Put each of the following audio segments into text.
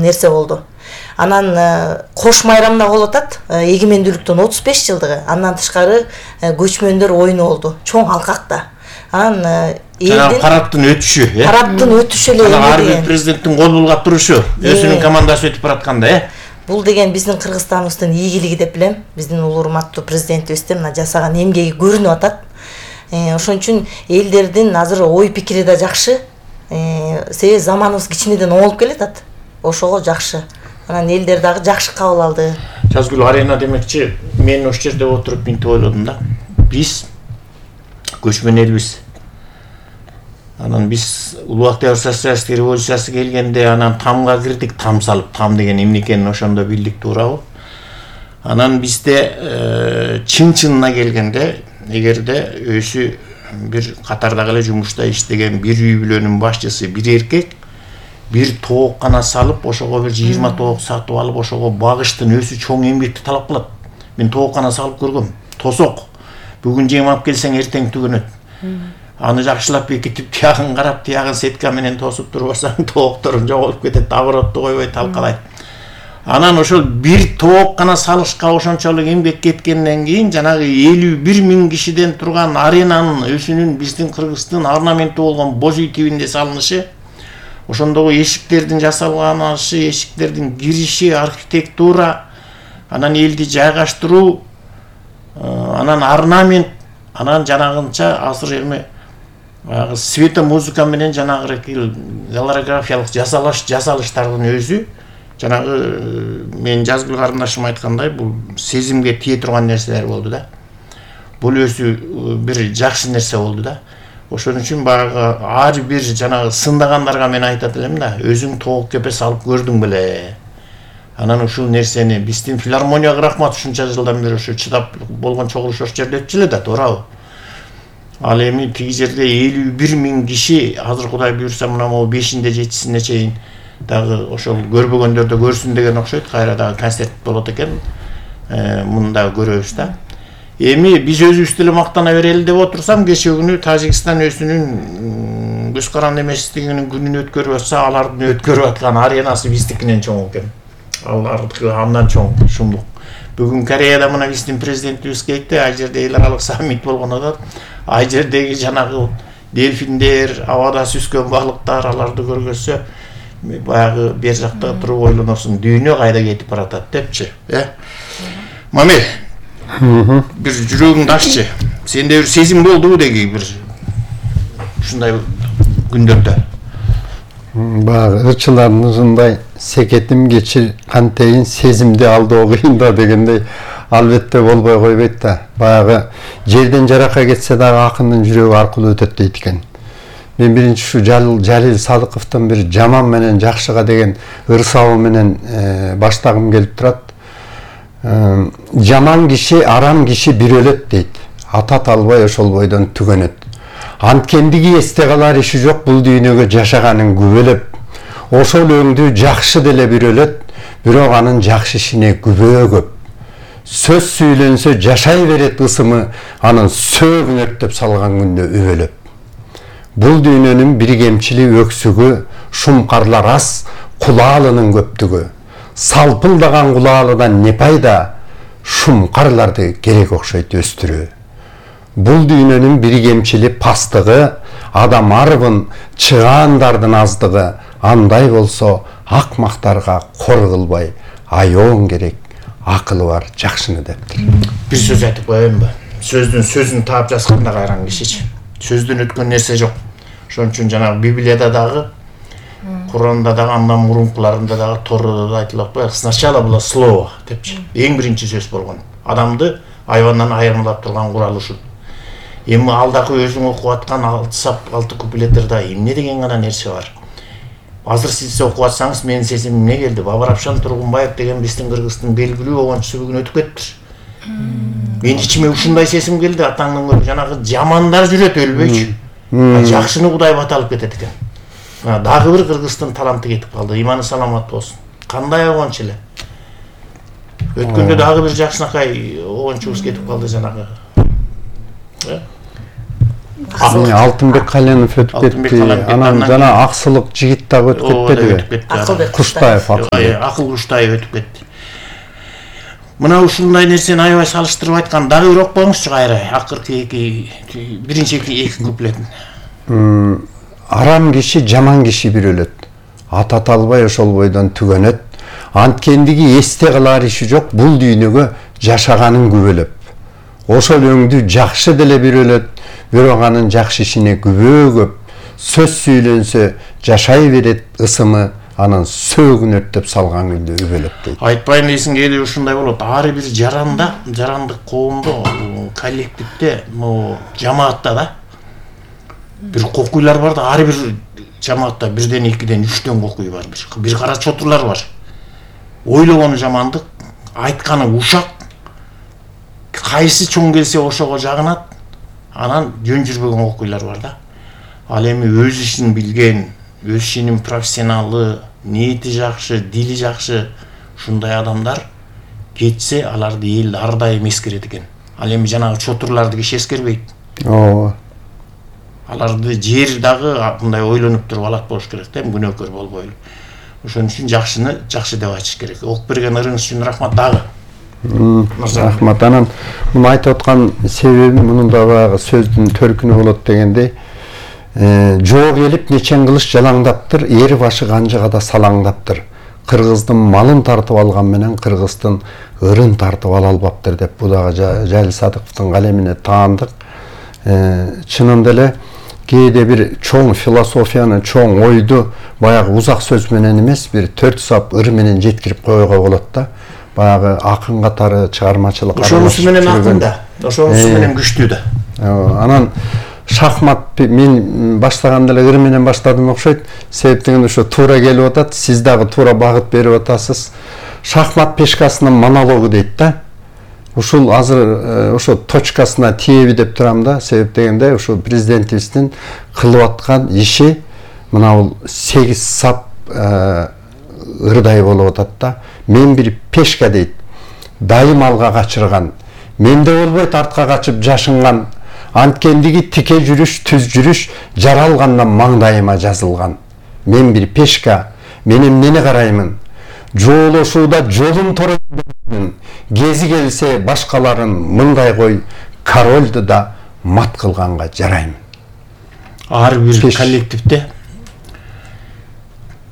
нерсе болду. Анан кош майрамда болуп атат, эгемендүүлүктүн 35 жылдыгы. Андан тышкары көчмөндөр оюну болду, чоң алкакта. Анан элдин парадтын өтүшү, парадтын өтүшү эле ар бир президенттин кол булгап турушу, өзүнүн командасы өтүп баратканда, Бул деген биздин Кыргызстаныбыздын ийгилиги деп билем. Биздин улуу урматтуу президентибиздин мына жасаган эмгеги көрүнүп атат. Ошон үчүн элдердин азыр ой пикири да жакшы. Себеби заманыбыз кичинеден оңолуп келатат. Ошого жакшы. Анан элдер дагы жакшы кабыл алды. Жазгүл Арена демекчи, мен ошол жерде отуруп минтип ойлодум да. Биз көчмөн элбиз. Анан биз Улуу Октябрь социалисттик революциясы келгенде анан тамга кирдик, там салып, там деген эмне экенин ошондо билдик, туурабы? Анан бизде чын-чынына келгенде, эгерде өзү бир катардагы эле жумушта иштеген бир үй бүлөнүн башчысы, бир эркек, бир тооккана салып, ошого бир 20 тоок сатып алып, ошого багыштын өзү чоң эмгекти талап кылат. Мен тооккана салып көргөм. Тосок. Бүгүн жем алып келсең эртең түгөнөт. Аны жакшылап бекитип, тиягын карап, тиягын сетка менен тосуп турбасаң, тоокторун жоголуп кетет, оборотду койбой талкалайт. Анан ошол бир тооккана салышка ошончолук эмгек кеткенден кийин жанагы 51.000 кишиден турган аренанын өзүнүн биздин Кыргыздын орнаменти болгон боз үй тибинде салынышы, ошондогу эшиктердин жасалганышы, эшиктердин кириши, архитектура, анан элди жайгаштыруу, анан орнамент, анан жанагынча азыр эми света музыка менен жанагы голографиялык жасалыштардын өзү жанагы мен Жазгүл карындашым айткандай, бул сезимге тие турган нерселер болду да. Бул өзү бир жакшы нерсе болду да. Ошон үчүн баягы ар бир жанагы сындагандарга мен айтат элем да, өзүң тоок кепе салып көрдүң беле. Анан ушул нерсени биздин филармонияга рахмат, ушунча жылдан бери ушу чыдап болгон чогулуш ошол жерде өтчү эле да, туурабы? Ал эми тиги жерде 51.000 киши, азыр Кудай буйрса мына могу 5-inde 7-сине чейин дагы ошол көрбөгөндөрдө көрсүн деген окшойт, кайра дагы концерт болот экен. Муну дагы көрөбүз да. Эми биз өзүбүз деле мактана берели деп отурсам, кечээ күнү Тажикстан өзүнүн көз каранды эместигинин күнүн өткөрүп атса, алардын өткөрүп аткан аренасы биздикинен чоң экен. Алардыкы андан чоң, шумдук. Бүгүн Кореяда мына биздин президентибиз кетти, ал жерде эл аралык саммит болгон атат. Ал жердеги жанагы дельфиндер, абада сүзгөн балыктар, аларды көргөзсө, баягы бер жакта туруп ойлоносуң, дүйнө кайда кетип баратат депчи, Маме, бир жүрөгүңдү аччы. Сенде бир сезим болдубу деги бир ушундай күндөрдө? Баягы ырчыларыбыздай секетим кечир кантейин сезимди алдоо кыйын да дегендей албетте болбой койбойт да. Баягы жерден жаракка кетсе дагы акындын жүрөгү аркылуу өтөт дейт экен. Мен биринчи ушу Жалил Садыковдон бир жаман менен жакшыга деген ырсабы менен баштагым келип турат. Жаман киши, арам киши бир өлөт дейт. Атат албай ошол бойдон түгөнөт. Анткендиги эсте калар иши жок, бул дүйнөгө жашаганын күбөлөп. Ошол өңдү жакшы деле бир өлөт, бирок анын жакшы ишине күбө көп. Сөз сүйлөнсө жашай берет ысымы, анын сөөгүн өрттөп салган күндө үбөлөп. Бул дүйнөнүн бир кемчили өксүгү, шумкарлар аз, кулаалынын көптүгү. Салпылдаган кулаалыдан не пайда, шумкарларды керек окшойт өстүрүү. Бул дүйнөнүн бир кемчили пастыгы, адам арыбын чыгаандардын аздыгы. Андай болсо акмактарга кор кылбай, аёң керек, акылы бар жакшыны дептир. Бир сөз айтып коеюнбу? Сөздүн таап жазганда кайран кишичи. Сөздөн өткөн нерсе жок. Ошон үчүн жанагы Библияда дагы, Куранда дагы, андан мурункуларында дагы, Торада да айтылат го, сначала было слово депчи. Эң биринчи сөз болгон. Адамды айвандан айырмалап турган курал ушул. Эми алдагы өзүң окуп аткан 6 куплеттерде эмне деген гана нерсе бар. Азыр сиз окуп атсаңыз, менин сезимим эмне келди? Бабарапшан Тургунбаев деген биздин Кыргыздын белгилүү огончусу бүгүн өтүп кетти. Мен ичиме ушундай сезим келди, атаңдын көрүп жанагы жамандар жүрөт өлбөйчү. Жакшыны Кудай бата алып кетет экен. Дагы бир Кыргыздын таланты кетип калды. Иманы саламат болсун. Кандай огонч эле. Өткөндө дагы бир жакшынакай огончубуз кетип калды жанагы. Алтынбек Каленов өтүп кетти. Анан жана Аксылык жигит дагы өтүп кетпедиби? Куштаев, Акыл Куштаев өтүп кетти. Мына ушундай нерсени аябай салыштырып айткан, дагы бир окпоңузчу кайра акыркы биринчи эки куплетин. Арам киши, жаман киши бир өлөт. Ата талбай ошол бойдон түгөнөт. Анткендиги эсте калар иши жок, бул дүйнөгө жашаганын күбөлөп. Ошол өңдү жакшы деле бир өлөт, бирок анын жакшы ишине күбө көп. Сөз сүйлөнсө жашай берет ысымы, анан сөөгүн өрттөп салган күндө үбөлөп дейт. Айтпайын дейсиң кээде ушундай болот. Ар бир жарандык коомдо, коллективде, жамаатта да бир кокуйлар бар да, ар бир жамаатта бирден, экиден, үчтөн кокуй бар. Бир кара чотурлар бар. Ойлогону жамандык, айтканы ушак. Кайсы чоң келсе ошого жагынат. Анан жөн жүрбөгөн кокуйлар бар да. Ал эми өз ишин билген, өз ишинин профессионалы, ниети жакшы, дили жакшы ушундай адамдар кетсе, аларды эл ар дайым эскерет экен. Ал эми жанагы чотурларды киши эскербейт. Ооба. Аларды жер дагы мындай ойлонуп туруп алат болуш керек да, күнөөкөр болбойлу. Ошон үчүн жакшыны жакшы деп айтыш керек. Ок берген ырыңыз үчүн рахмат дагы. Рахмат. Анан муну айтып аткан себеби мунун да баягы сөздүн төркүнү болот дегендей, жоо келип нечен кылыш жалаңдаптыр, эри башы канжыга да салаңдаптыр. Кыргыздын малын тартып алган менен кыргыздын ырын тартып ала албаптыр деп бу дагы Жайыл Садыковдун калемине таандык. Чынында эле кээде бир чоң философияны, чоң ойду баягы узак сөз менен эмес, бир 4 сап ыр менен жеткирип коюуга болот да. Баягы акын катары чыгармачылык. Ошонусу менен акын да, ошонусу менен күчтүү да. Анан шахмат мен баштаганда эле ыр менен баштадым окшойт. Себеп дегенде ошо туура келип атат, сиз дагы туура багыт берип атасыз. Шахмат пешкасынын монологу дейт да. Ушул азыр ошо точкасына тиеби деп турам да. Себеп дегенде ошо президентибиздин кылып аткан иши мына бул 8 сап ырдай болуп атат да. Мен бир пешка дейт. Дайым алга качырган. Менде болбойт артка качып жашынган. Анткендиги тике жүрүш, түз жүрүш жаралгандан маңдайыма жазылган. Мен бир пешка, мен эмнени караймын? Жоолошууда жолун тороймун. Кези келсе башкаларын мындай кой, корольду да мат кылганга жараймын. Ар бир коллективде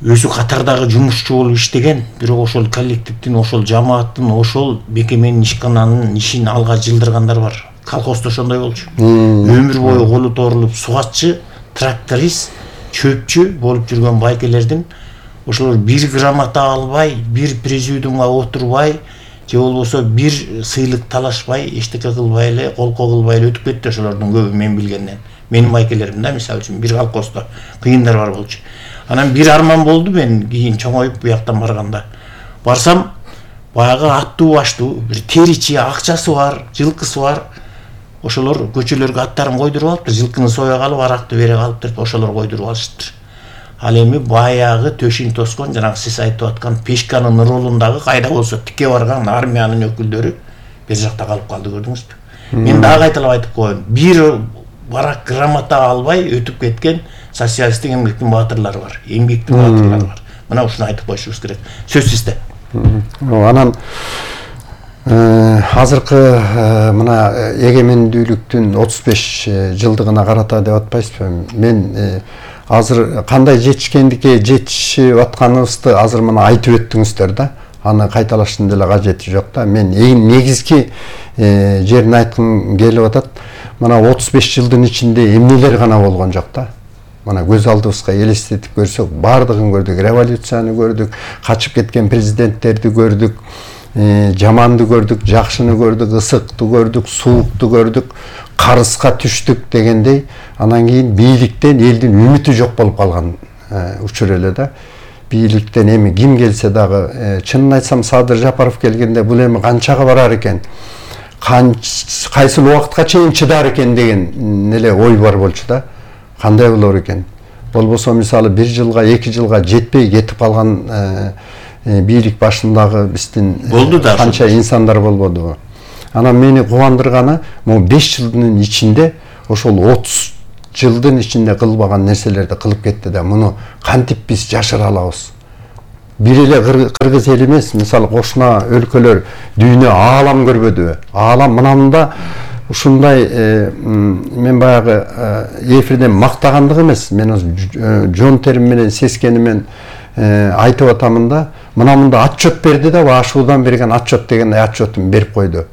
өзү катардагы жумушчу болуп иштеген, бирок ошол коллективдин, ошол жамааттын, ошол бекеменин ишкананын ишин алга жылдыргандар бар. Колхозда ошондой болчу. Өмүр бою колу торулуп сугатчы, тракторист, чөпчү болуп жүргөн байкелердин ошолор бир грамота албай, бир президиумга отурбай, же болбосо бир сыйлык талашпай, эчтеке кылбай эле, колко кылбай эле өтүп кетти ошолордун көбү мен билгенден. Менин байкелерим да, мисалы үчүн бир колхоздо кыйындар бар болчу. Анан бир арман болду мен кийин чоңоюп буяктан барганда. Барсам, баягы аттуу баштуу, бир теричи, акчасы бар, жылкысы бар. Ошолор көчөлөргө аттарын койдуруп алыптыр, жылкыны соя калып, аракты бере калыптыр, ошолор койдуруп алыштыр. Ал эми баягы төшүн тоскон, жанагы сиз айтып аткан пешканын ролундагы кайда болсо тике барган армиянын өкүлдөрү бер жакта калып калды, көрдүңүзбү? Мен дагы кайталап айтып коеюн, бир барак грамота албай өтүп кеткен социалисттик эмгектин баатырлары бар, эмгектин баатырлары бар. Мына ушуну айтып коюшубуз керек. Сөз сизде. Анан азыркы мына эгемендүүлүктүн 35 жылдыгына карата деп атпайсызбы? Мен азыр кандай жетишкендикке жетишип атканыбызды азыр мына айтып өттүңүздөр да. Аны кайталаштын деле кажети жок да. Мен эң негизги жерин айткым келип атат. Мына 35 жылдын ичинде эмнелер гана болгон жок да. Мына көз алдыбызга элестетип көрсөк, бардыгын көрдүк, революцияны көрдүк, качып кеткен президенттерди көрдүк, жаманды көрдүк, жакшыны көрдүк, ысыкты көрдүк, суукту көрдүк, карызга түштүк дегендей. Анан кийин бийликтен элдин үмүтү жок болуп калган учур эле да. Бийликтен эми ким келсе дагы, чынын айтсам Садыр Жапаров келгенде бул эми канчага барар экен, кайсыл убакытка чейин чыдар экен деген эле ой бар болчу да. Кандай болор экен? Болбосо мисалы 1 жылга, 2 жылга жетпей кетип калган бийлик башындагы биздин канча инсандар болбодубу? Анан мени кубандырганы, могу 5 жылдын ичинде ошол жылдын ичинде кылбаган нерселерди кылып кетти да, муну кантип биз жашыра алабыз? Бир эле кыргыз эл эмес, мисалы кошуна өлкөлөр дүйнө аалам көрбөдүбү? Аалам мынамында ушундай мен баягы эфирден мактагандык эмес, мен жон терим менен сескени менен айтып атамын да, мынамында отчет берди да, ашуудан берген отчет деген отчетун берип койду.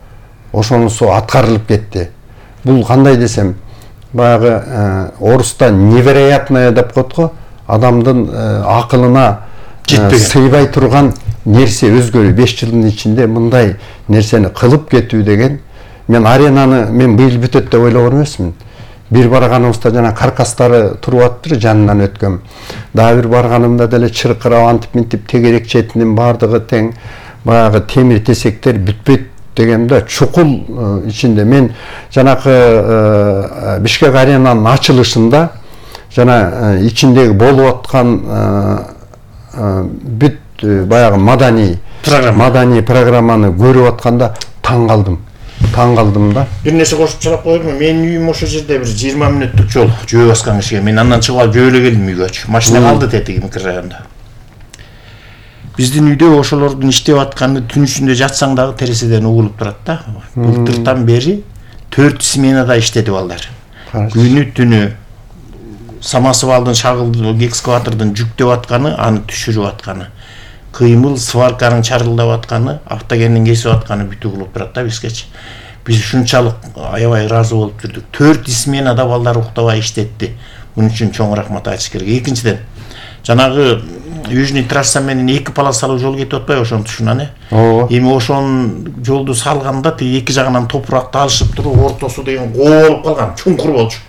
Ошонусу аткарылып кетти. Бул кандай десем, баягы орусста невероятное деп коет го, адамдын акылына сыйбай турган нерсе өзгөрүү. 5 жылдын ичинде мындай нерсени кылып кетүү деген, мен аренаны мен быйыл бүтөт деп ойлогон эмесмин. Бир барганыбызда жана каркастары туруп аттыр, жанынан өткөм. Дагы бир барганымда деле чыркырап антип минтип тегерек четинин бардыгы тең, баягы темир тесектер бүтпөйт дегенде чукул ичинде. Мен жанакы Бишкек аренанын ачылышында жана ичиндеги болуп аткан бүт баягы маданий программаны көрүп атканда таң калдым да. Бир нерсе кошуп чыгып койдумбу? Менин үйүм ошо жерде бир 20 мүнөттүк жол, жөө баскан кишиге. Мен андан чыгып алып жөө эле келдим үйгөчү. Машина калды тетиги микрорайонда. Биздин үйдө ошолордун иштеп атканы түн ичинде жатсаң дагы тереседен угулуп турат да. Былтыртан бери 4 сменада иштеди балдар. Күнү түнү самосвалдын шагылды экскаватордун жүктөп атканы, аны түшүрүп атканы, кыймыл сварканын чарылдап атканы, автогендин кесип атканы бүтүп угулуп турат да бизгечи. Биз ушунчалык аябай ыраазы болуп жүрдүк. 4 сменада балдар уктабай иштетти. Мунун үчүн чоң рахмат айтыш керек. Экинчиден, жанагы Южный трасса менен 2 полосалуу жол кетип атпайбы ошонун тушунан эми ошонун жолду салганда тиги эки жагынан топуракты алышып туруп, ортосу деген коо болуп калган, чуңкур болчу.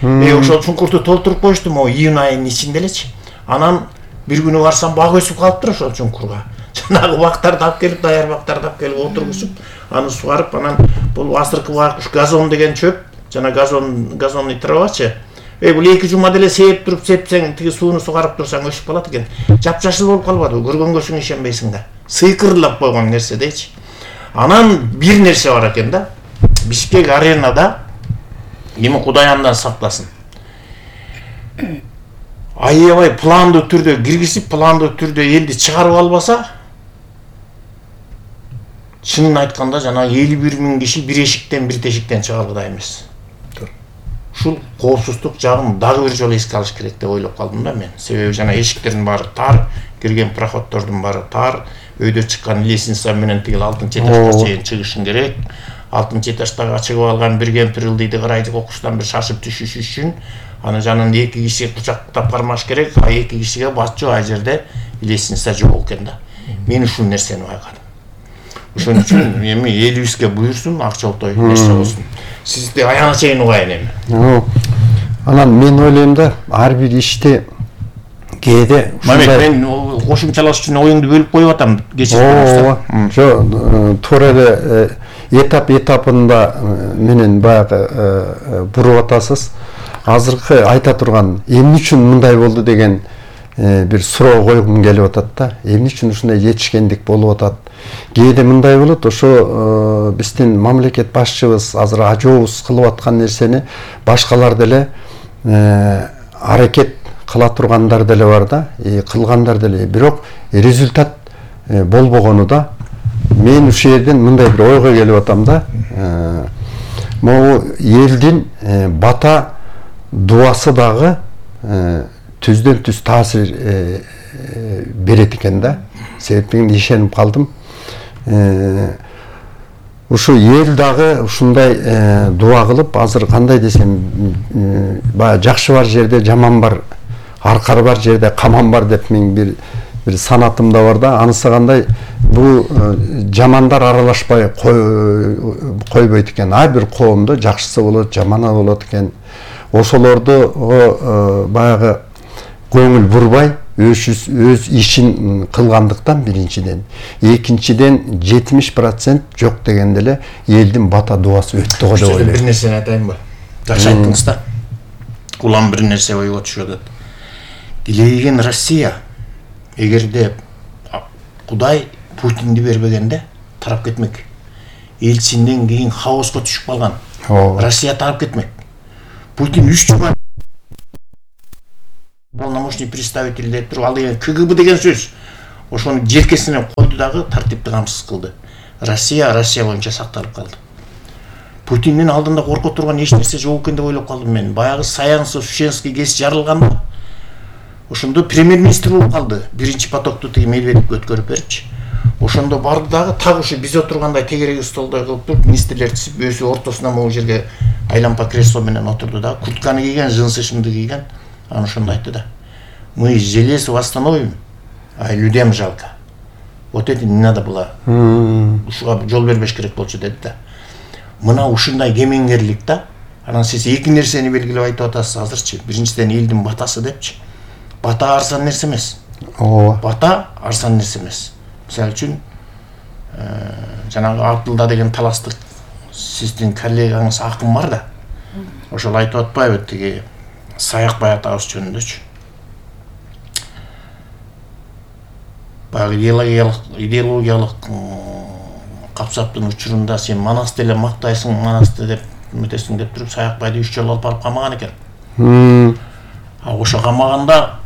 Ошол чуңкурду толтуруп коюштум июнь айынын ичинде элечи. Анан бир күнү барсам бак өсүп калыптыр ошол чуңкурга. Жанагы бактарды алып келип, даяр бактарды алып келип отургузуп, аны сугарып, анан бул азыркы байкуш газон деген чөп, жана газонный травачы. Бул 2 жума деле сээп туруп, сепсең, тиги сууну сугарып турсаң өсүп калат экен. Жапжашыл болуп калбады, көргөнгө ишенбейсиң да. Сыйкырлап койгон нерсе дейчи. Анан бир нерсе бар экен да. Бишкек аренада эми Кудай андан сактасын. Аябай пландуу түрдө киргизип, пландуу түрдө элди чыгарып албаса, чынын айтканда жана 51 000 киши бир эшиктен бир тешиктен чыга алгыдай эмес. Ушул коопсуздук жагын дагы бир жолу эске алыш керек деп ойлоп калдым да мен. Себеби жана эшиктердин баары тар, кирген проходдордун баары тар, өйдө чыккан лестница менен тигил 6-чы этажга чейин чыгышың керек. 6-чы этажга чыгып алган бир кемпир ылдыйды карайды окуштан бир шашып түшүш үчүн аны жанында 2 киши кучактап кармаш керек, а 2 кишиге батчу ай жерде лестница жок экен да. Мен ушул нерсени байкадым. Ошон үчүн эми элибизге буйрсун, акчалтой нерсе болсун. Сизди аяна чейин угайын эми. Анан мен ойлойм да, ар бир иште кээде мен кошумчалаш үчүн оюңду бөлүп коюп атам кечээ. Туура эле этапында менен баягы буруп атасыз. Азыркы айта турган эмне үчүн мындай болду деген бир суроо койгум келип атат да. Эмне үчүн ушундай жетишкендик болуп атат? Кээде мындай болот, ошо биздин мамлекет башчыбыз азыр ажообуз кылып аткан нерсени башкалар деле аракет кыла тургандар деле бар да, кылгандар деле. Бирок результат болбогону да. Мен ушул жерден мындай бир ойго келип атам да. Могу элдин бата дуасы дагы түздөн түз таасир берет экен да. Себеби мен ишенип калдым. Ушу эл дагы ушундай дуа кылып, азыр кандай десем, баягы жакшы бар жерде жаман бар, аркар бар жерде каман бар деп мен бир санатымда бар да. Анысы кандай, бул жамандар аралашпай койбойт экен. Ар бир коомдо жакшысы болот, жаманы болот экен. Ошолорду баягы көңүл бурбай өз ишин кылгандыктан биринчиден, экинчиден 70% жок дегенде эле элдин бата дуасы өттү го деп ойлойм. Бир нерсени айтайынбы? Жакшы айттыңыз да. Улам бир нерсе ойго түшүп атат. Дилеген Россия эгерде Кудай Путинди бербегенде тарап кетмек. Элчинден кийин хаоско түшүп калган. Россия тарап кетмек. Путин 3 жума полномочный представитель деп туруп ал деген КГБ деген сөз. Ошону желкесине койду дагы тартипти камсыз кылды. Россия боюнча сакталып калды. Путиндин алдында корко турган эч нерсе жок экен деп ойлоп калдым мен. Баягы Саянцев, Шенский ГЭС жарылганда ошондо премьер-министр болуп калды. Биринчи потокту тиги Медведевке өткөрүп берипчи. Ошондо барды дагы так ушу биз отургандай тегереги столдой кылып туруп министрлер тизип өзү ортосуна могу жерге айлампа кресло менен отурду да, куртканы кийген, джинсы шымды кийген. Анан ошондо айтты да: "Мы железо восстановим, а людям жалко. Вот это не надо было. Ушуга жол бербеш керек болчу" деди да. Мына ушундай кемеңгерлик да. Анан сиз эки нерсени белгилеп айтып атасыз азырчы. Биринчиден элдин батасы депчи. Бата арзан нерсе эмес. Ооба. Бата арзан нерсе эмес. Мисалы үчүн жанагы Абдылда деген таластык сиздин коллегаңыз акын бар да. Ошол айтып атпайбы тиги Саякбай атабыз жөнүндөчү. Баягы идеологиялык капсаптын учурунда сен Манасты эле мактайсың, Манасты деп үмүтесиң деп туруп Саякбайды 3 жолу алып барып камаган экен. Ошо камаганда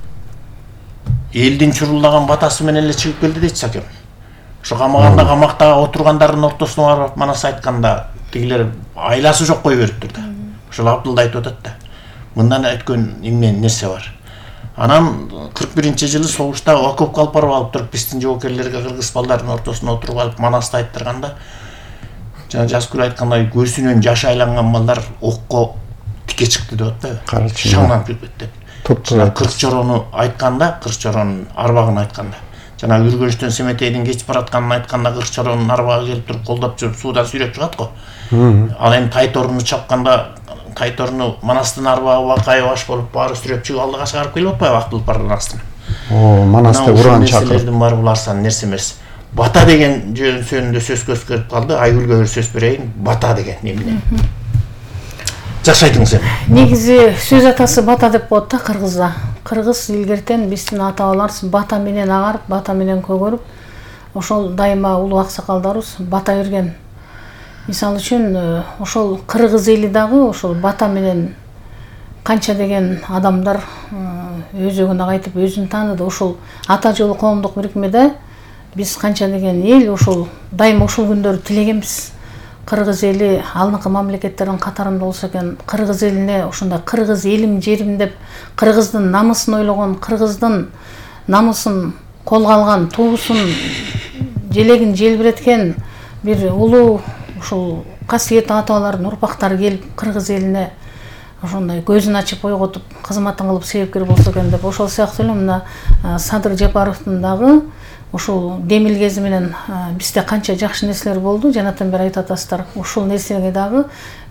элдин чурулдаган батасы менен эле чыгып келди дейт Сакем. Ошо камаганда камакта отургандардын ортосуна барып Манас айтканда тигилер айласы жок кой бериптир да. Ошол Абдылда айтып атат да. Мындан өткөн эмне нерсе бар. Анан 41-жылы согушта окопко алып барып алып туруп биздин жоокерлерге кыргыз балдардын ортосуна отуруп алып Манасты айттырганда жана Жазгүл айткандай көзүнөн жаш айланган балдар окко тике чыкты деп атпайбы? Шаңнан кетти деп. Кырк чорону айтканда, кырк чоронун арбагын айтканда. Жана үргөнчтөн Семетейдин кечип баратканын айтканда кырк чоронун арбагы келип туруп колдоп жүрүп суудан сүйрөп чыгат го. Ал эми Тайторуну чапканда Тайторуну Манастын арбагы бакай баш болуп баары сүрөп чыгып алдыга чыгарып келип атпайбы Акбыл Пардын астына. Манасты уран чакырып. Нерселердин баары бул арзан нерсе эмес. Бата деген жөнүндө сөз көзгөрүп калды. Айгүлгө бир сөз берейин. Бата деген эмне? Жакшы айтыңыз эми. Негизи сөз атасы бата деп коет да кыргызда. Кыргыз илгертен биздин ата-бабаларыбыз бата менен агарып, бата менен көгөрүп, ошол дайыма улуу аксакалдарыбыз бата берген. Мисалы үчүн ошол кыргыз эли дагы ошол бата менен канча деген адамдар өзөгүнө кайтып өзүн тааныды. Ошол ата жолу коомдук бирикмеде биз канча деген эл ошол дайыма ошол күндөрдү тилегенбиз. Кыргыз эли алынкы мамлекеттердин катарында болсо экен, кыргыз элине ошондой кыргыз элим жерим деп кыргыздын намысын ойлогон, кыргыздын намысын колго алган, туусун желегин желбиреткен бир улуу ушул касиеттүү ата-бабалардын урпактары келип кыргыз элине ошондой көзүн ачып ойготуп кызматын кылып себепкер болсо экен деп ошол сыяктуу эле мына Садыр Жапаровдун дагы ошол демил кези менен бизде канча жакшы нерселер болду, жанатан бери айтып атасыздар. Ошол нерсеге дагы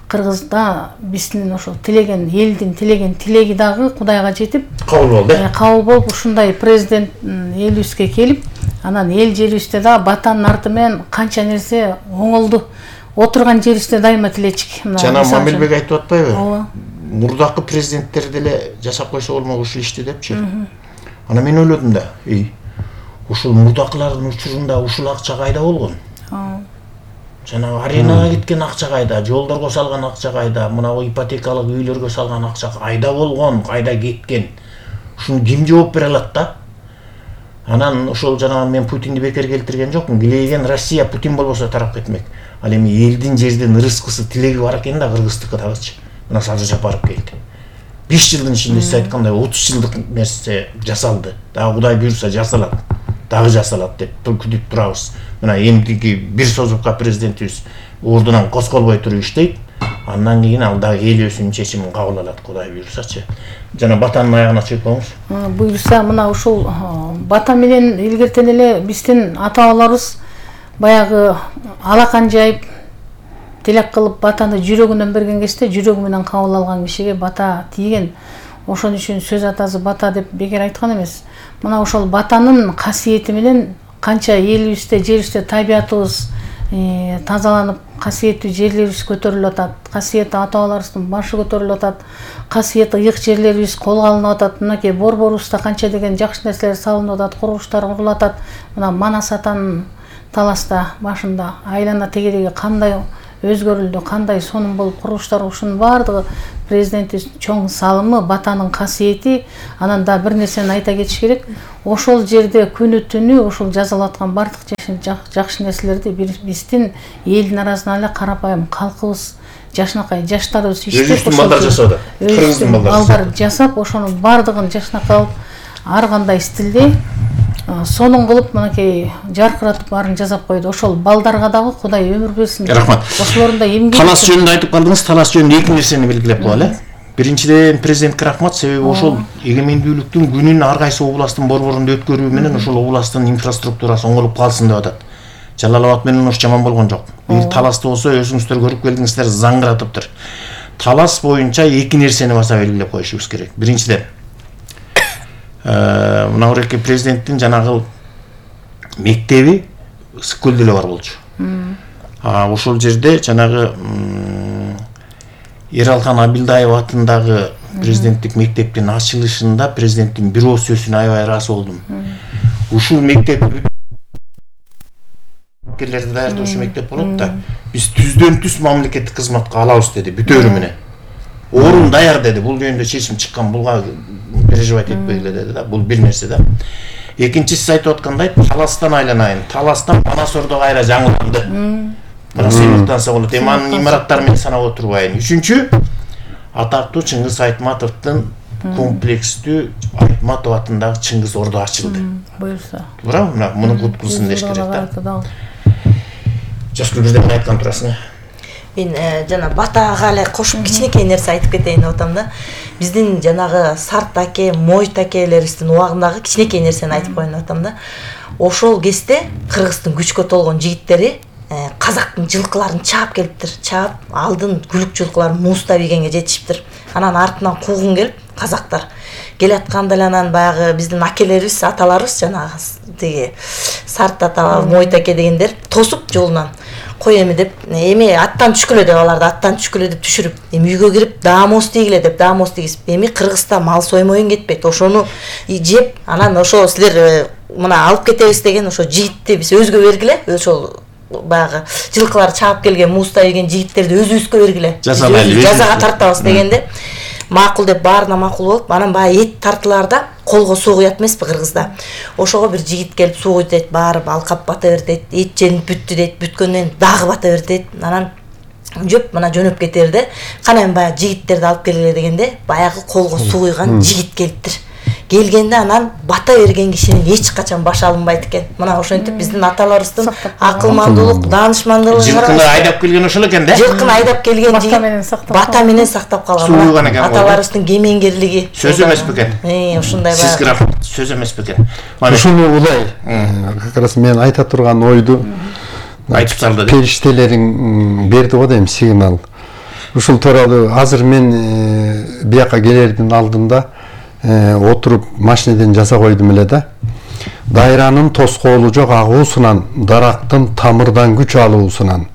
Кыргызда биздин ошол тилеген элдин тилеген тилеги дагы Кудайга жетип кабыл болду. Кабыл болуп ушундай президент элибизге келип, анан эл жерибизде да батанын арты менен канча нерсе оңолду. Отурган жерибизде дайыма тилечик. Жана Мамилбек айтып атпайбы? Ооба. Мурдакы президенттер деле жашап койсо болмок ушул ишти депчи. Ана мен ойлодум да, ушул мурдакылардын учурунда ушул акча кайда болгон? Жана аренага кеткен акча кайда, жолдорго салган акча кайда, мына ипотекалык үйлөргө салган акча кайда болгон, кайда кеткен? Ушуну ким жооп бере алат да? Анан ошол жана мен Путинди бекер келтирген жокмун. Килейген Россия Путин болбосо тарап кетмек. Ал эми элдин жердин рызкысы тилеги бар экен да кыргыздыкы дагычы. Мына Садыр Жапаров келди. 5 жылдын ичинде сиз айткандай 30 жылдык нерсе жасалды. Дагы Кудай буйрса жасалат. Дагы жасалат деп күтүп турабыз. Мына эмдиги бир созупка президентибиз ордунан козголбой туруп иштейт. Андан кийин ал дагы эл өзүнүн чечимин кабыл алат, Кудай буйрсачы. Жана батанын аягына чыгып коңуз. Буйрса мына ушул бата менен илгертен эле биздин ата-бабаларыбыз баягы алакан жайып тилек кылып батаны жүрөгүнөн берген кезде жүрөгү менен кабыл алган кишиге бата тийген. Ошон үчүн сөз атасы бата деп бекер айткан эмес. Мына ошол батанын касиети менен канча элибизде, жерибизде табиятыбыз тазаланып, касиеттүү жерлерибиз көтөрүлүп атат, касиеттүү ата-бабаларыбыздын башы көтөрүлүп атат, касиеттүү ыйык жерлерибиз колго алынып атат. Мынакей борборубузда канча деген жакшы нерселер салынып атат, курулуштар курулуп атат. Мына Манас атанын таласта башында айлана тегереги кандай өзгөрүлдү, кандай сонун болуп курулуштар, ушунун баардыгы президентибиздин чоң салымы, батанын касиети. Анан да бир нерсени айта кетиш керек. Ошол жерде күнү түнү ошол жазалаткан баардык жакшы нерселерди биздин элдин арасынан эле карапайым калкыбыз, жашнакай жаштарыбыз иштеп, балдар жасады. Кыргыздын балдар жасап, ошонун баардыгын жашнакай алып, ар кандай стилде сонун кылып мынакей жаркыратып баарын жасап койду. Ошол балдарга дагы Кудай өмүр берсин. Рахмат. Ошолордун да эмгеги. Талас жөнүндө айтып калдыңыз. Талас жөнүндө эки нерсени белгилеп коелу. Биринчиден президентке рахмат, себеби ошол эгемендүүлүктүн күнүн ар кайсы областтын борборунда өткөрүү менен ошол областтын инфраструктурасы оңолуп калсын деп атат. Жалал Абад менен ош жаман болгон жок. Бир Таласты болсо өзүңүздөр көрүп келдиңиздер, заңгыратыптыр. Талас боюнча эки нерсени баса белгилеп коюшубуз керек. Биринчиден мына Уреке президенттин жанагы мектеби Ысык-Көлдө эле бар болчу. Ошол жерде жанагы Эралхан Абилдаев атындагы президенттик мектептин ачылышында президенттин бир ооз сөзүнө аябай ыраазы болдум. Ушул мектеп келерди даярдоочу мектеп болот да. Биз түздөн түз мамлекеттик кызматка алабыз деди, бүтөөрү менен. Орун даяр деди. Бул жөнүндө чечим чыккан, буга переживать этпегиле деди да. Бул бир нерсе да. Экинчиси айтып аткандай, Таластан айланайын. Таластан Манасордо кайра жаңыланды. Мына сыймыктанса болот. Эми анын имараттары менен санап отурбайын. Үчүнчү, атактуу Чыңгыз Айтматовдун комплекстүү Айтматов атындагы Чыңгыз Ордо ачылды. Буюрса. Туура, муну кут кылсын деш керек да. Жашкүл бирден айткан турасың. Мен жана Батага эле кошуп кичинекей нерсе айтып кетейин деп атам да. Биздин жанагы Сарт аке, Мойт акелерибиздин убагындагы кичинекей нерсени айтып коеюн деп атам да. Ошол кезде Кыргыздын күчкө толгон жигиттери казактын жылкыларын чаап келиптир. Чаап, алдын күлүк жылкыларын муустап ийгенге жетишиптир. Анан артынан куугун келип, казактар келатканда эле анан баягы биздин акелерибиз, аталарыбыз жанагы тиги Сарт ата, Мойт аке дегендер тосуп жолунан кой эми деп, эми аттан түшкүлө деп аларды, аттан түшкүлө деп түшүрүп, эми үйгө кирип даамоз тийгиле деп даамоз тийгизип, эми Кыргызда мал соймоюн кетпейт, ошону жеп, анан ошо силер мына алып кетебиз деген ошо жигитти биз өзгө бергиле, ошол баягы жылкылар чаап келген, муустап ийген жигиттерди өзүбүзгө бергиле. Жазага тартабыз дегенде макул деп баарына макул болуп, анан баягы эт тартылаарда колго суу куят эмеспи Кыргызда. Ошого бир жигит келип суу куйт дейт, баары алкап бата берди дейт, эт женип бүттү дейт, бүткөндөн дагы бата берди дейт. Анан жөп мына жөнөп кетерде, кана эми баягы жигиттерди алып келгиле дегенде, баягы колго суу куйган жигит келиптир. Келгенде анан бата берген кишинин эч качан башы алынбайт экен. Мына ошентип биздин аталарыбыздын акылмандуулук, даанышмандуулугу. Жылкыны айдап келген ошол экен да. Жылкыны айдап келген жигит бата менен сактап калган. Аталарыбыздын кемеңгерлиги. Сөз эмес бекен. Ушундай Сиз рахмат. Сөз эмес бекен. Ушуну улай, как раз мен айта турган ойду айтып салды. Периштелериң берди го дейм сигнал. Ушул тууралуу азыр мен бияка келердин алдында отуруп машинеден жаза койдум эле да. Дайранын тоскоолу жок агуусунан, дарактын тамырдан күч алуусунан,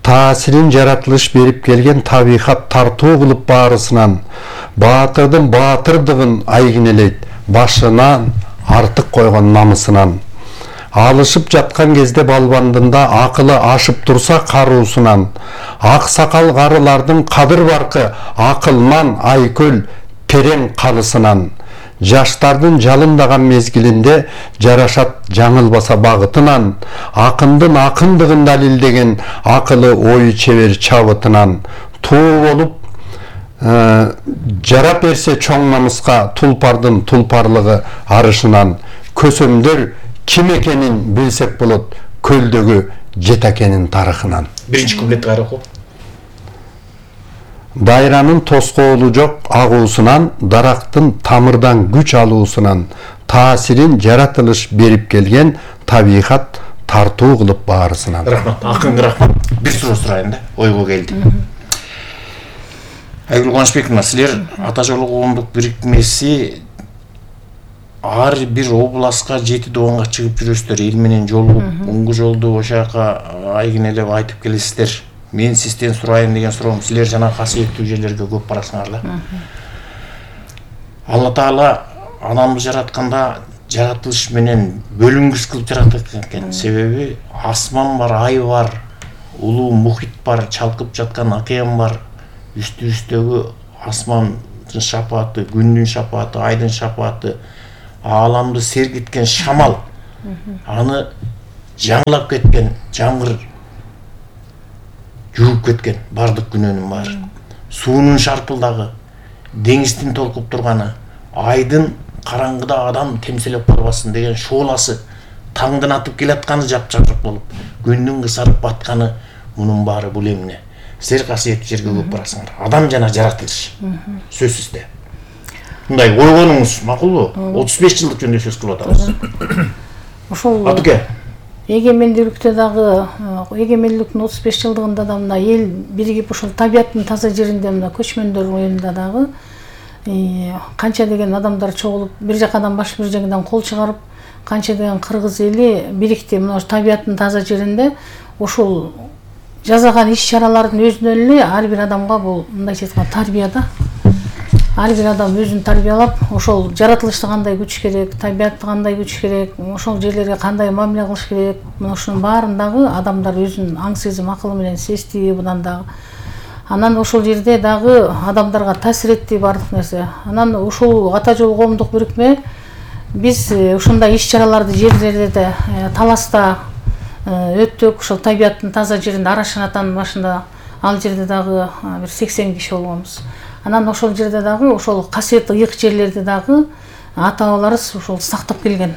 таасирин жаратылыш берип келген табигат тартуу кылып баарысынан, баатырдын баатырдыгын айгинелейт, башынан артык койгон намысынан. Алышып жаткан кезде балбандында акылы ашып турса каруусунан, ак сакал карылардын кадыр баркы акылман айкөл перең калысынан, жаштардын жалындаган мезгилинде жарашат жаңылбаса багытынан, акындын акындыгын далилдеген акылы ою чебер чабытынан, туу болуп жарап берсе чоң намыска тулпардын тулпарлыгы арышынан, көсөмдөр ким экенин билсек болот көлдөгү жетакенин тарыхынан. Биринчи куплетти кайра окуу. Дайранын тоскоолу жок агуусунан, дарактын тамырдан күч алуусунан, таасирин жаратылыш берип келген табигат тартуу кылып баарысынан. Рахмат, акынга рахмат. Бир суроо сурайын да, ойго келди. Айгүл Кубанычбековна, силер Ата жолу коомдук бирикмеси ар бир областка 7 доонга чыгып жүрөсүздөр, эл менен жолугуп, оңгу жолду ошо жака айгинелеп айтып келесиздер. Мен сизден сурайын деген суроом, силер жана касиеттүү жерлерге көп барасыңар. Алла Таала адамды жаратканда жаратылыш менен бөлүнгүс кылып жараткан экен. Себеби асман бар, ай бар, улуу мухит бар, чалкып жаткан океан бар, үстүбүздөгү асмандын шапааты, күндүн шапааты, айдын шапааты, ааламды сергиткен шамал, аны жаңылап кеткен жамгыр жууп кеткен бардык күнөөнүн баары. Суунун шарпылдагы, деңиздин толкуп турганы, айдын караңгыда адам темселеп калбасын деген шооласы, таңдын атып келатканы жапжашык болуп, күндүн кысарып батканы, мунун баары бул эмне? Силер касиеттүү жерге көп барасыңар. Адам жана жаратылыш. Сөзсүз да. Мындай ойгонуңуз макулбу? 35 жылдык жөнүндө сөз кылып атабыз. Ошол Атуке. эгемендүүлүктө дагы, эгемендүүлүктүн 35 жылдыгында да мына эл биригип ошол табияттын таза жеринде мына көчмөндөр оюнда дагы канча деген адамдар чогулуп, бир жакадан баш бир жагынан кол чыгарып, канча деген кыргыз эли бирикти мына табияттын таза жеринде ошол жасаган иш-чаралардын өзүнөн эле ар бир адамга бул мындайча айтканда тарбия да. Ар бир адам өзүн тарбиялап, ошол жаратылышты кандай күтүш керек, табиятты кандай күтүш керек, ошол жерлерге кандай мамиле кылыш керек, мына ошонун баарын дагы адамдар өзүнүн аң сезим акылы менен сезди будан дагы. Анан ошол жерде дагы адамдарга таасир этти бардык нерсе. Анан ушул Ата жол коомдук бирикме биз ушундай иш-чараларды жерлерде таласта өттүк, ошол табияттын таза жеринде Арашан атанын башында ал жерде дагы бир 80 киши болгонбуз. Анан ошол жерде дагы ошол касиеттүү ыйык жерлерди дагы ата-бабаларыбыз ошол сактап келген.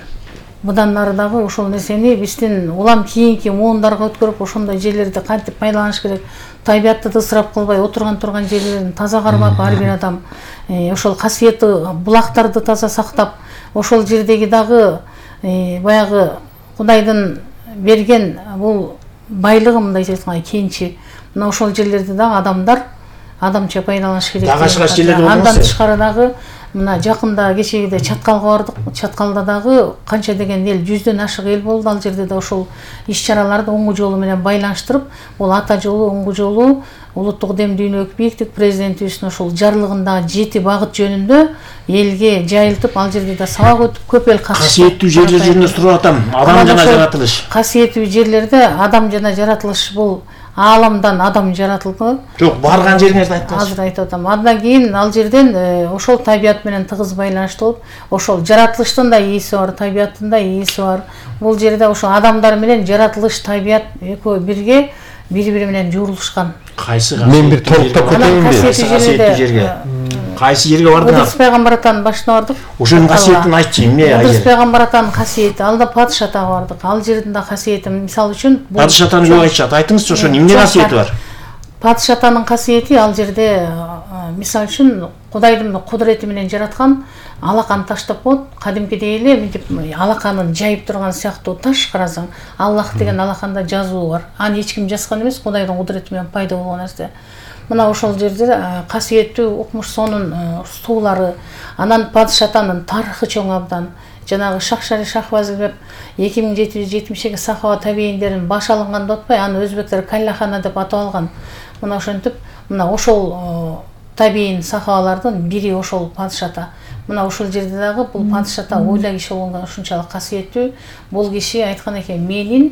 Мындан ары дагы ошол нерсени биздин улам кийинки муундарга өткөрүп, ошондой жерлерди кантип пайдаланыш керек, табиятты ысырап кылбай, отурган турган жерлерин таза кармап, ар бир адам ошол касиеттүү булактарды таза сактап, ошол жердеги дагы баягы Кудайдын берген бул байлыгы мындайча айтканда кенчи. Мына ошол жерлерди дагы адамдар адамча пайдаланыш керек. Андан тышкары дагы мына жакында кечегиде Чаткалга бардык. Чаткалда дагы канча деген эл, 100дөн ашык эл болду. Ал жерде да ошол иш-чараларды оңгу жолу менен байланыштырып, бул ата жолу, оңгу жолу, улуттук дем дүйнөлүк бийиктик президентибиздин ошол жарлыгындагы 7 багыт жөнүндө элге жайылтып, ал жерде да сабак өтүп, көп эл касиеттүү жерлер жөнүндө сурап атам. Адам жана жаратылыш. Касиеттүү жерлерде адам жана жаратылыш бул ааламдан адам жаратылды. Жок, барган жериңерди айтыңыз. Азыр айтып атам. Андан кийин ал жерден ошол табият менен тыгыз байланыштуу болуп, ошол жаратылыштын да ээси бар, табияттын да ээси бар. Бул жерде ошол адамдар менен жаратылыш, табият экөө бирге бири-бири менен жуурулушкан. Кайсы мен бир толуктап кетейинби? Касиеттүү жерге. Кайсы жерге бардыңар? Ыдырыс пайгамбар атанын башына бардык. Ошонун касиетин айтчы, эмне ай Ыдырыс жер? пайгамбар атанын касиети, алда Падыш атага бардык. Ал жердин да касиети, мисалы үчүн, Падыш атаны көп айтышат. Айтыңызчы, ошонун эмне касиети бар? Падыш атанын касиети ал жерде мисалы үчүн Кудайдын кудурети менен жараткан алаканы таштап коет. Кадимкидей эле мынтип алаканын жайып турган сыяктуу таш карасаң, Аллах деген алаканда жазуу бар. Аны эч ким жазган эмес, Кудайдын кудурети менен пайда болгон нерсе. Мына ошол жерде касиеттүү укмуш сонун суулары, анан Падыш атанын тарыхы чоң абдан. Жанагы Шахшари Шахбазил деп 2772 сахаба табийиндерин баш алынган деп атпай, аны өзбектер Каллахана деп атап алган. Мына ошентип, мына ошол табийин сахабалардын бири ошол Падыш ата. Мына ошол жерде дагы бул Падыш ата ойла киши болгондо ушунчалык касиеттүү. Бул киши айткан экен, менин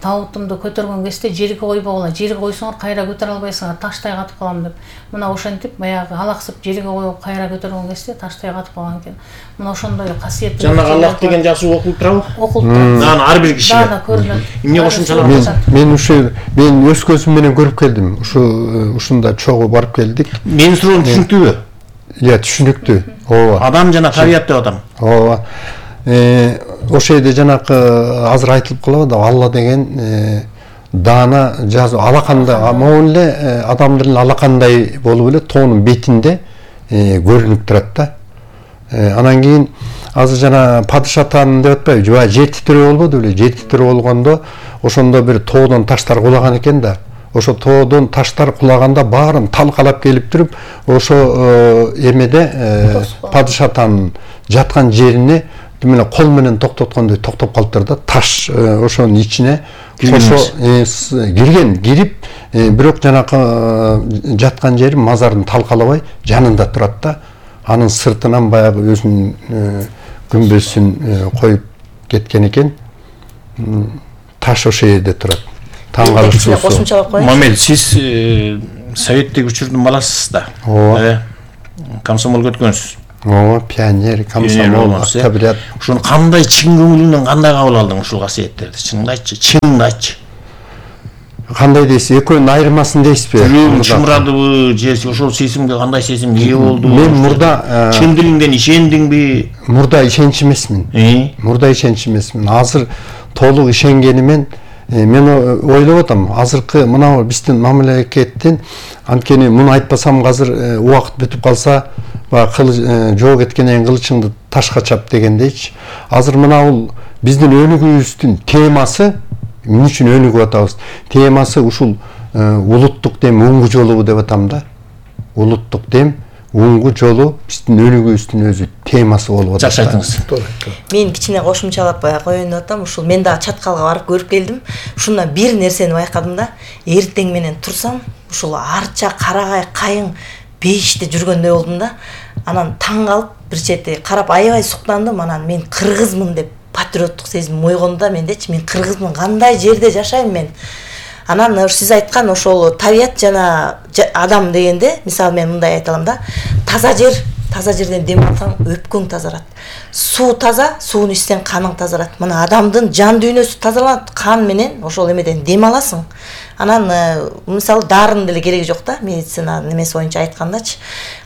табутумду көтөргөн кезде жерге койбогула, жерге койсоңор кайра көтөрө албайсыңар, таштай катып калам деп. Мына ошентип баягы алаксып жерге коюп кайра көтөргөн кезде таштай катып калган экен. Мына ошондой касиеттүү. Жана Аллах деген жазуу окулуп турабы? Окулуп турат. Дагы ар бир кишиге. Дагы көрүнөт. Эмне кошумчалап Мен өз көзүм менен көрүп келдим. Ушунда чогуу барып келдик. Менин суроом түшүнүктүүбү? Иә, түшүнүктүү. Ооба. Адам жана табият деп адам. Ооба. Ошол жерде жанакы азыр айтылып калабы да, Алла деген даана жазуу алаканда, могул эле адамдын алакандай болуп эле тоонун бетинде көрүнүп турат да. Анан кийин азыр жана Падыш атанын деп атпайбы, жана жер титирөө болбоду беле? Жер титирөө болгондо ошондо бир тоодон таштар кулаган экен да. Ошо тоодон таштар кулаганда баарын талкалап келип туруп, ошо эмеде Падыш атанын жаткан жерине мына кол менен токтоткондой токтоп калыптыр да. Таш ошонун ичине кошо кирип, бирок жанакы жаткан жери мазарын талкалабай жанында турат да. Анын сыртынан баягы өзүнүн күмбөзүн коюп кеткен экен. Таш ошол жерде турат. таң калыштуусу. Кошумчалап коеюн. Мамел, сиз советтик учурдун баласысыз да. Ооба. Комсомолго өткөнсүз. Ооба, пионер, комсомол, октябрят. Ушуну кандай чын көңүлүнөн кандай кабыл алдың ушул касиеттерди? Чыныңды айтчы, чыныңды айтчы. Кандай дейсиз? Экөөнүн айырмасын дейсизби? Жүрөгүң чымырадыбы, же ошол сезимге кандай сезим ээ болду? Мен мурда чын дилиңден ишендиңби? Мурда ишенч эмесмин. Мурда ишенч эмесмин. Азыр толук ишенгенимен мен ойлоп атам, азыркы мына биздин мамлекеттин анткени муну айтпасам азыр убакыт бүтүп калса, жоо кеткенден кылычыңды ташка чап дегендейчи. Азыр мына бул биздин өнүгүүбүздүн темасы, эмне үчүн өнүгүп атабыз? Темасы ушул улуттук дем уңгу жолу деп атам да. Улуттук дем уңгу жолу биздин өнүгүүбүздүн өзү темасы болуп атат. Жакшы айтыңыз. Мен кичине кошумчалап коеюн деп атам. Ушул мен дагы чаткалга барып көрүп келдим. Ушундан бир нерсени байкадым да. Эртең менен турсам, ушул арча, карагай, кайың бейиште жүргөндөй болдум да. Анан таң калып, бир чети карап аябай суктандым. Анан мен кыргызмын деп патриоттук сезим ойгонду да мендечи. Мен кыргызмын, кандай жерде жашайм мен. Анан сиз айткан ошол табият жана адам дегенде, мисалы мен мындай айта алам да. Таза жерден дем алсаң өпкөң тазарат. Суу таза, сууну ичсең каның тазарат. Мына адамдын жан дүйнөсү тазаланат, кан менен ошол эмеден дем аласың. Анан мисалы дарынын деле кереги жок да, медицина немеси боюнча айткандачы.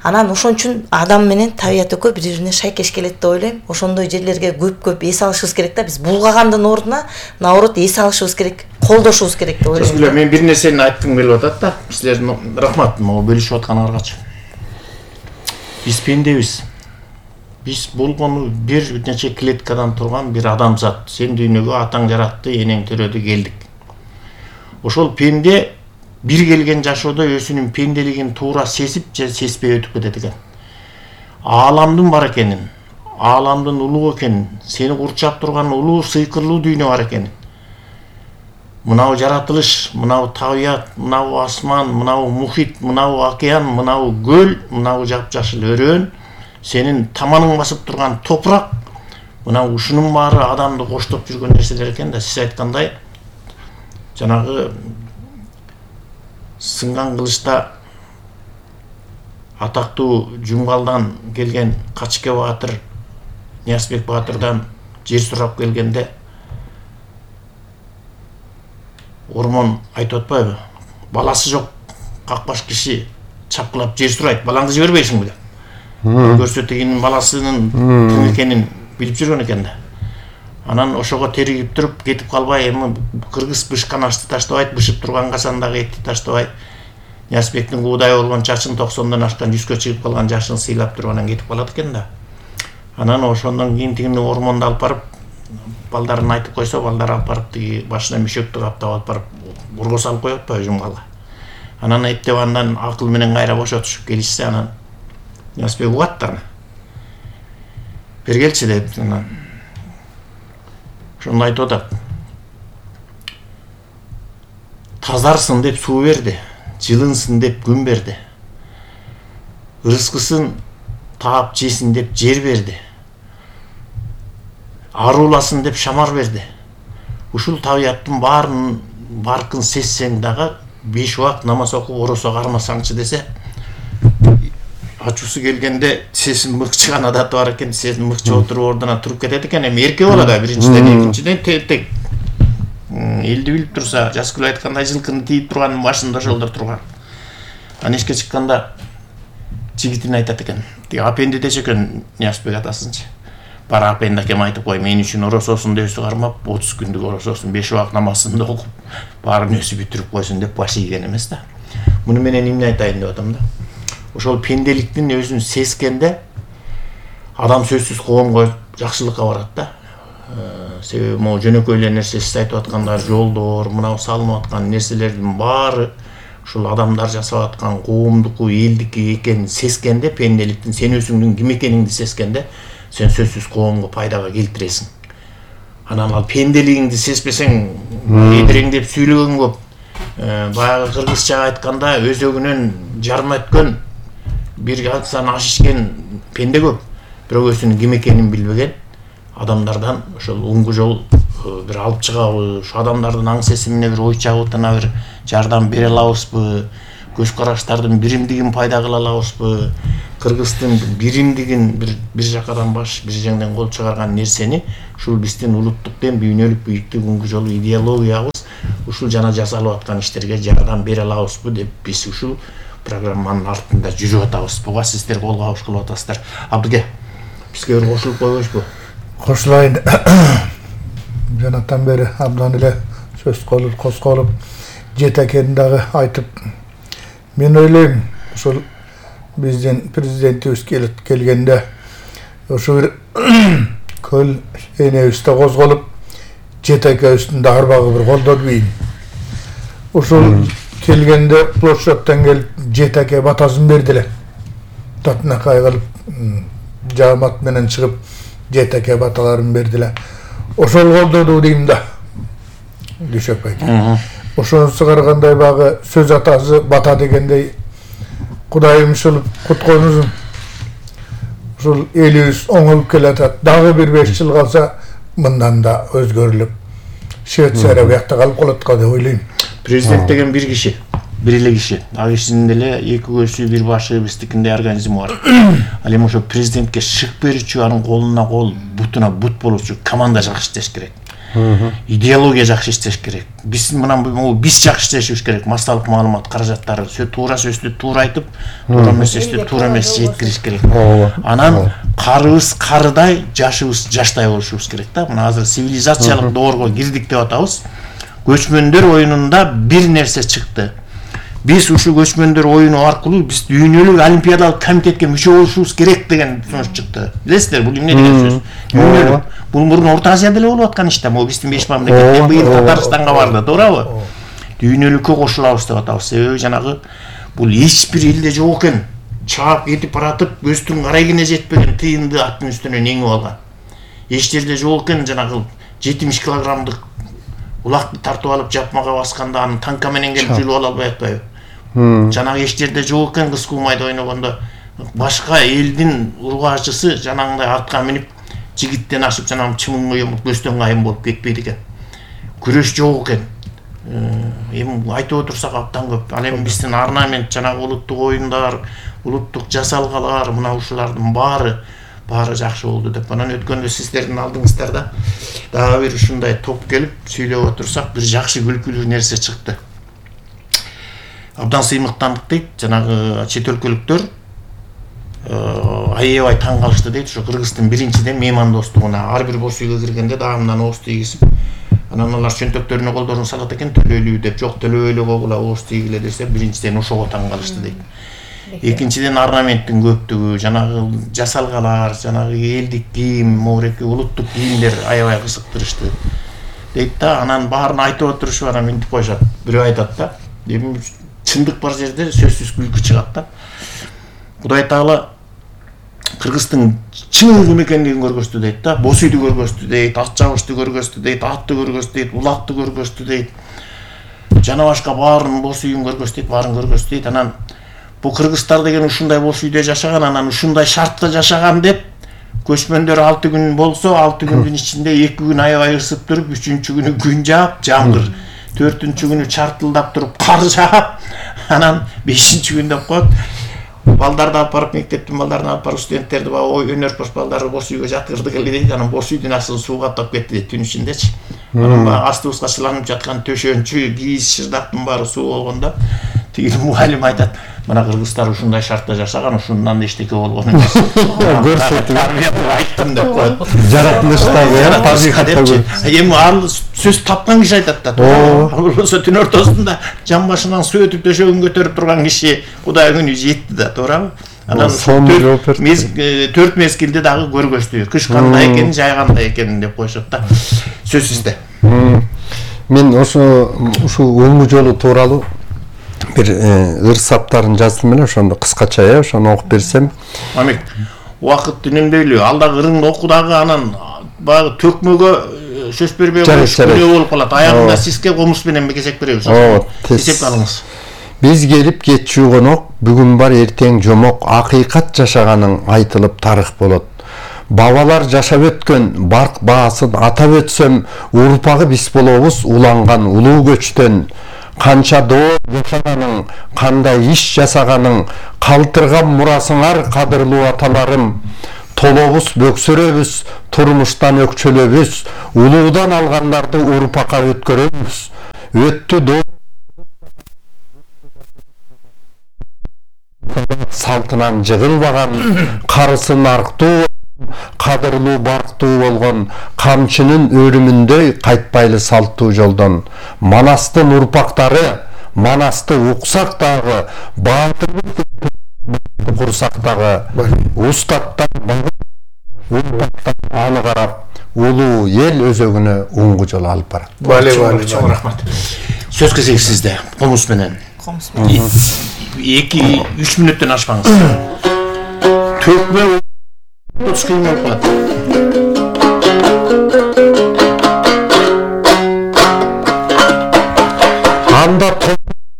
Анан ошон үчүн адам менен табият экөө бири-бирине шайкеш келет деп ойлойм. Ошондой жерлерге көп эс алышыбыз керек да. Биз булгагандын ордуна наоборот эс алышыбыз керек, колдошубуз керек деп ойлойм. Сөзгүлө, мен бир нерсени айткым келип атат да. Силердин рахмат, могу бөлүшүп атканыңаргачы. Биз пендебиз. Биз болгону бир нече клеткадан турган бир адамзат. Сен дүйнөгө атаң жаратты, энең төрөдү, келдик. Ошол пенде бир келген жашоодо өзүнүн пенделигин туура сезип же сезбей өтүп кетет экен. Ааламдын бар экенин, ааламдын улуу экенин, сени курчап турган улуу сыйкырлуу дүйнө бар экенин. Мынау жаратылыш, мынау табият, мынау асман, мынау мухит, мынау океан, мынау көл, мынау жапжашыл өрөөн, сенин таманың басып турган топурак, мынау ушунун баары адамды коштоп жүргөн нерселер экен да. Сиз айткандай, жанагы сынган кылычта атактуу Жумгалдан келген Качке Баатыр, Ниязбек Баатырдан жер сурап келгенде Ормон айтып атпайбы? Баласы жок какбаш киши чапкылап жер сурайт, балаңды жибербейсиңби деп. Көрсө тигинин баласынын ким экенин билип жүргөн экен да. Анан ошого теригип туруп кетип калбай, эми кыргыз бышкан ашты таштабайт, бышып турган казандагы этти таштабай, Ниязбектин куудай болгон чачын 90дон ашкан 100гө чыгып калган жашын сыйлап туруп анан кетип калат экен да. Анан ошондон кийин тигини ормондо алып барып, балдарын айтып койсо, балдар алып барып тиги башына мишөктү каптап алып барып урго салып коет атпайбы Жумгалга. Анан эптеп андан акыл менен кайра бошотушуп келишсе, анан Ниязбек угат да. Бергелчи деп анан ошондо айтып атат. Тазарсын деп суу берди, жылынсын деп күн берди. Ырыскысын таап жесин деп жер берди. Аруласын деп шамар берди. Ушул табияттын баарын баркын сезсең дагы 5 убакыт намаз окуп оросо кармасаңчы десе, ачуусу келгенде тизесин мыкчыган адаты бар экен, тизесин мыкчып отуруп ордуна туруп кетет экен. Эми эрке болот да, биринчиден, экинчиден тек элди билип турса, Жаскүл айткандай жылкыны тийип турганын башында ошолдор турган. Анан эшикке чыкканда жигитине айтат экен. Тиги апенди дече экен Ниязбек атасынчы. Бар апенди акем айтып кой, мен үчүн орососун деп кармап, 30 күндүк орососун 5 убакыт намазын да окуп, баарын өзү бүтүрүп койсун деп баш ийген эмес да. Муну менен эмне айтайын деп атам да. Ошол пенделиктин өзүн сезгенде адам сөзсүз коомго жакшылыкка барат да. Себеби могу жөнөкөй эле нерсе сиз айтып аткандар, жолдор, мынау салынып аткан нерселердин баары ушул адамдар жасап аткан коомдуку, элдики экенин сезгенде, пенделиктин сен өзүңдүн ким экениңди сезгенде, сен сөзсүз коомго пайдага келтиресиң. Анан ал пенделигиңди сезбесең, эдиреңдеп сүйлөгөн көп. Баягы кыргызча айтканда өзөгүнөн жарма өткөн, бир асан аш ичкен пенде көп. Бирок өзүнүн ким экенин билбеген адамдардан ошол уңгу жол бир алып чыгабы, ушу адамдардын аң сезимине бир ой чабытына бир жардам бере алабызбы, көз караштардын биримдигин пайда кыла алабызбы, Кыргыздын биримдигин бир жакадан баш, бир жеңден кол чыгарган нерсени ушул биздин улуттук дем дүйнөлүк бийиктигингө жолу идеологиябыз ушул жана жасалып аткан иштерге жардам бере алабызбы деп биз ушул программанын артында жүрүп атабыз. Буга сиздер кол кабыш кылып атасыздар. Абдыге, бизге бир кошулуп койбойсузбу? Кошулайын. Жанаттан бери абдан эле сөз козголуп, жетекени дагы айтып, мен ойлойм, ушул биздин президентибиз келгенде ошо бир көл энебизде козголуп, жетекебиздин арбагы бир колдоду бейин. Ушул келгенде площадьтан келип жетеке батасын бердилер. Татынакай кылып жаамат менен чыгып жетеке баталарын бердилер. Ошол колдоду дейм да. Дүшөп айт. Ошонусу карагандай багы сөз атасы бата дегендей Кудайым ушул кутконузун. Ушул элибиз оңолуп келатат. Дагы бир 5 жыл калса мындан да өзгөрүлүп Швейцария буякта калып калат деп ойлойм. Президент деген бир киши, бир эле киши. Ал кишинин деле эки көзү, бир башы, биздикиндей организми бар. Ал эми ошо президентке шык берүүчү, анын колуна кол, бутуна бут болуучу команда жакшы иштеш керек. Идеология жакшы иштеш керек. Биз жакшы иштешибиз керек. Массалык маалымат каражаттары туура сөздү туура айтып, туура эмести туура эмес жеткириш керек. Анан карыбыз карыдай, жашыбыз жаштай болушубуз керек да. Мына азыр цивилизациялык доорго кирдик деп атабыз. Көчмөндөр оюнунда бир нерсе чыкты. Биз ушул көчмөндөр оюну аркылуу биз дүйнөлүк олимпиадалык комитетке мүчө болушубуз керек деген сөз чыкты. Билесиздер, бул эмне деген сөз? Дүйнөлүк. Бул мурун Орто Азияда эле болуп аткан иш да. Могу биздин беш мамлекеттен быйыл Татарстанга барды, туурабы? Дүйнөлүккө кошулабыз деп атабыз. Себеби жанагы бул эч бир элде жок экен. Чаап кетип баратып, көздүн карайгине жетпеген тыйынды аттын үстүнө эңип алган. Эч жерде жок экен жанагы 70 килограммдык улакты тартып алып жапмага басканда аны танка менен келип жүрүп ала албай атпайбы? Жанагы эч жерде жок экен кыз кулмайда ойногондо башка элдин ургаачысы жанагындай атка минип жигиттен ашып жанагы чымынга йомуп көстөн кайын болуп кетпейт экен. Күрөш жок экен. Эми айтып отурсак абдан көп. Ал эми биздин орнамент, жанагы улуттук оюндар, улуттук жасалгалар, мына ушулардын баары жакшы болду деп. Анан өткөндө сиздердин алдыңыздарда дагы бир ушундай топ келип сүйлөп отурсак, бир жакшы күлкүлүү нерсе чыкты. Абдан сыймыктандык дейт, жанагы чет өлкөлүктөр аябай таң калышты дейт. Ошо Кыргыздын биринчиден меймандостугуна ар бир бош үйгө киргенде дагы мындан ооз тийгизип, анан алар чөнтөктөрүнө колдорун салат экен, төлөйлүү деп. Жок, төлөбөй эле койгула, ооз тийгиле десе, биринчиден ошого таң калышты дейт. Экинчиден орнаменттин көптүгү, жанагы жасалгалар, жанагы элдик кийим, могуреки улуттук кийимдер аябай кызыктырышты дейт да. Анан баарын айтып отурушуп анан минтип коюшат. Бирөө айтат да, эми чындык бар жерде сөзсүз күлкү чыгат да. Кудай Таала Кыргыздын чын ким экендигин көргөздү дейт да. Бос үйдү көргөздү дейт, ат жабышты көргөздү дейт, атты көргөздү дейт, улакты көргөздү дейт. Жана башка баарын бос үйүн көргөздү дейт, баарын көргөздү дейт. Анан бул кыргыздар деген ушундай бос үйдө жашаган, анан ушундай шартта жашаган деп көчмөндөр 6 күн болсо, 6 күндүн ичинде 2 күн аябай ысып туруп, 3-күнү күн жаап, жамгыр, 4-күнү чартылдап туруп кар жаап, анан 5-күн деп коет. Балдарды алып барып, мектептин балдарын алып барып, студенттерди өнөрпөш балдарды бос үйгө жаткырдык эле дейт. Анан бос үйдүн астын сууга таап кетти дейт түн ичиндечи. Анан астыбызга сыланып жаткан төшөнчү, кийиз шырдактын баары суу болгондо тиги мугалим айтат, мына кыргыздар ушундай шартта жашаган, ушундан да эчтеке болгон эмес. Көрсөтүп айттым деп коет. Жаратылыштагы табигатта. Эми ал сөз тапкан киши айтат да. Ал болсо түн ортосунда жан башынан суу өтүп төшөгүн көтөрүп турган киши Кудай күнү жетти да, туурабы? Анан 4 мезгилде дагы көргөздү. Кыш кандай экенин, жай кандай экенин деп коюшат да. Сөз сизде. Мен ушул өңү жолу тууралуу бир ыр саптарын жаздым эле, ошондо кыскача ошону окуп берсем. Мамик, убакыт үнөмдөйлү. Алдагы ырыңды оку дагы, анан баягы төкмөгө сөз бербей күнөө болуп калат. Аягында сизге комуз менен кезек беребиз. Эсеп алыңыз. Биз келип кетчү конок, бүгүн бар эртең жомок, акыйкат жашаганың айтылып тарых болот. бабалар жашап өткөн барк баасын атап өтсөм, урпагы биз болобуз уланган улуу көчтөн. Канча доо жашаганың, кандай иш жасаганың, калтырган мурасыңар кадырлуу аталарым. Толобуз бөксөрөбүз, турмуштан өкчөлөбүз, улуудан алгандарды урпакка өткөрөбүз. Өттү доо салтынан жыгылбаган, карысын арктуу, кадырлуу барктуу болгон, камчынын өрүмүндөй кайтпайлы салттуу жолдон. Манастын урпактары, Манасты уксак дагы, баатырлык курсак дагы, устаттан аны карап, улуу эл өзөгүнө оңго жол алып барат. Чоң рахмат. Сөз кезеги сизде. Комуз менен. 2-3 мүнөттөн ашпаңыз. Төкмө 30 кыйын болуп калат.